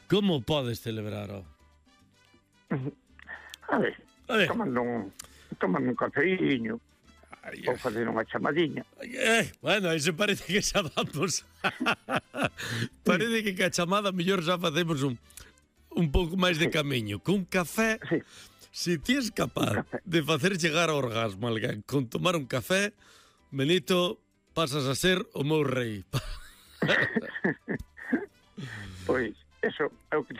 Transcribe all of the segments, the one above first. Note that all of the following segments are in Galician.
Como podes celebrar, ó? A ver, tomando un cafeíño, ou fazer unha chamadiña. Bueno, aí se parece que xa vamos. Parece que ca chamada mellor xa facemos un pouco máis de camiño. Cun café, se ti és capaz de facer chegar ao orgasmo alguén con tomar un café, Benito, pasas a ser o meu rei. Pois, eso é o que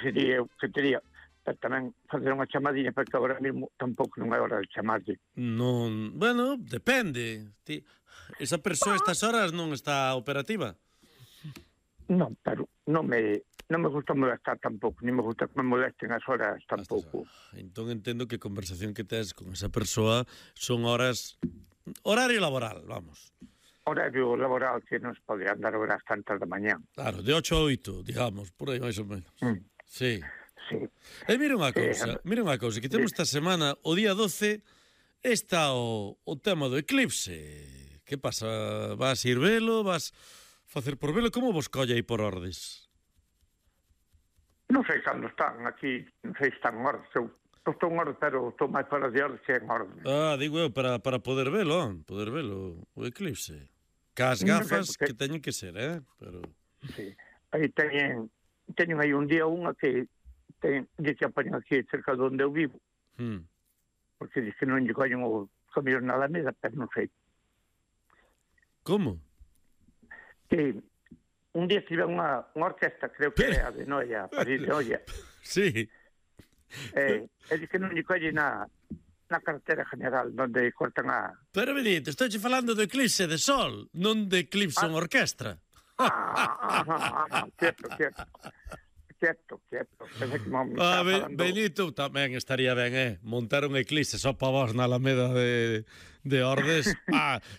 teria. Pero tamén facer unha chamadinha, porque agora mesmo tampouco non é hora de chamarlle. Non, bueno, depende. Esa persoa a estas horas non está operativa? Non, pero non me gusta molestar tampouco, ni me gusta que me molesten as horas tampouco. Entón entendo que a conversación que tes con esa persoa son horas... Horario laboral, vamos. Horario laboral que non se pode andar horas tantas da mañá. Claro, de 8 a 8, digamos, por aí máis ou menos. Sí. Sí. E mira unha cousa, que temos esta semana, o día 12, está o tema do eclipse. Que pasa? Vas ir velo? Vas facer por velo? Como vos colle aí por Ordes? Non sei cando están aquí, non sei se están en Ordes. Eu estou en Ordes, pero estou máis fora de Ordes que en Ordes. Digo eu, para poder velo, o eclipse. Cas gafas que teñen que ser, Pero... Sí, aí teñen aí un día unha que que apañan aquí cerca de onde eu vivo, porque diz que non lle collen o camión na Alameda, pero non sei. Como? Que un día estive unha orquesta, creo que é a de Noia, París de Noia. Sí. E diz que non lle collen na carretera general, onde cortan a... Pero, Benito, estou falando do eclipse de sol, non de eclipse en orquestra. Quieto. Benito, tamén estaría ben, montar un eclipse só para vos na Alameda de Ordes.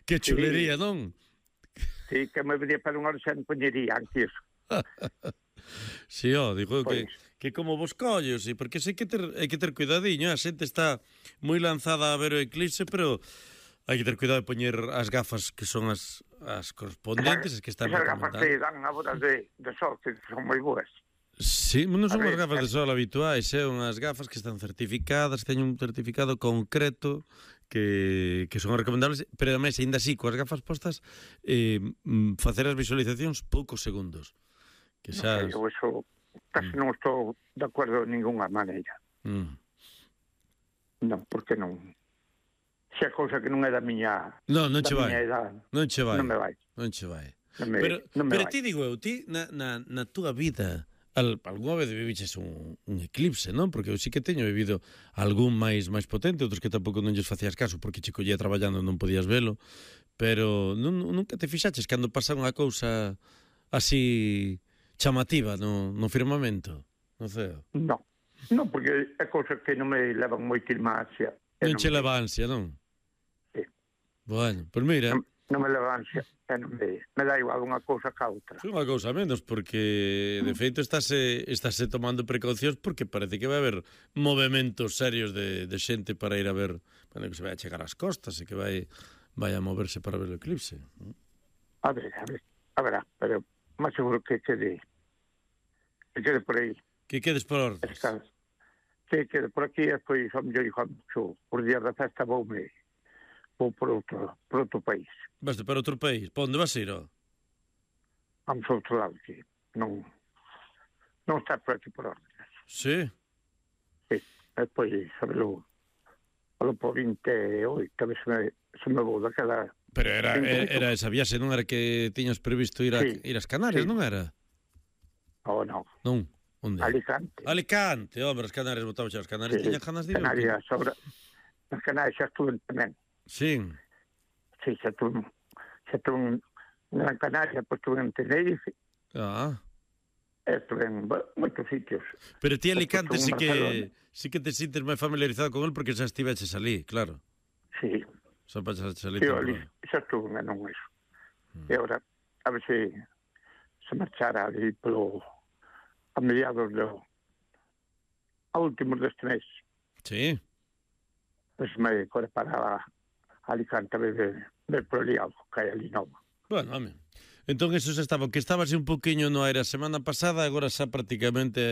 Que chulería, non? Sí, que me vería para unha hora xa non poñería antes. Sí, digo que como vos collos, porque hai que ter cuidadiño, a xente está moi lanzada a ver o eclipse, pero hai que ter cuidado de poñer as gafas que son as correspondentes, as que están recomendadas. Esas gafas que dan a botas de sol, que son moi boas. Sí, non son as gafas de sol habituais, unhas gafas que están certificadas, teñen un certificado concreto que son recomendables, pero ademais, ainda así, coas gafas postas, facer as visualizacións poucos segundos. Que xa... Eu eso casi non estou de acordo de ninguna maneira. Non, porque non... Se a cousa que non é da miña... Non che vai. Non me vai. Pero ti digo eu, ti na túa vida... Alguna vez viviches un eclipse, non? Porque eu sí que teño vivido algún máis potente, outros que tampouco non lles facías caso porque che collía traballando non podías velo, pero nunca te fixaches cando pasa unha cousa así chamativa no firmamento, no ceo? Non, porque é cousa que non me levan moitísima ansia. Non che leva ansia, non? Sí. Bueno, pois mira... Non me leva ansia, me dá igual unha cousa ca outra. É unha cousa menos, porque de feito estáse tomando precaucións porque parece que vai haber movementos serios de xente para ir a ver, bueno, que se vai a chegar ás costas e que vai a moverse para ver o eclipse. A ver, pero máis seguro que quede por aí. Que quedes por Ordes. Que quede por aquí, e despois, ao mellor, os días da festa vou por outro país. Vaste para outro país? Para onde vas ir, Vamos a outro lado, que non está por aquí por Ordes. Sí? Sí, despois, sabelo, por 28, a ver se me vou daquela... Pero era esa viaxe, non era que tiñas previsto ir ás Canarias, non era? Non. Non? Onde? Alicante, as Canarias, botamos as Canarias, tiñas ganas de ir? As Canarias xa estuve tamén. Sí. Sí, xa estuve en Gran Canaria, pois estuve en Tenerife. Estuve en moitos sitios. Pero ti Alicante sí que te sintes máis familiarizado con el porque xa estiveches ali, claro. Sí. Xa pasaste ali. Xa estuve en eso. E agora, a ver se marchara ali a mediados a últimos deste mes. Sí. Pois me corre para Alicante a ver por ali algo que hai ali novo. Bueno, home. Entón, eso xa estaba, que estabas un poquinho no aire a semana pasada, agora xa prácticamente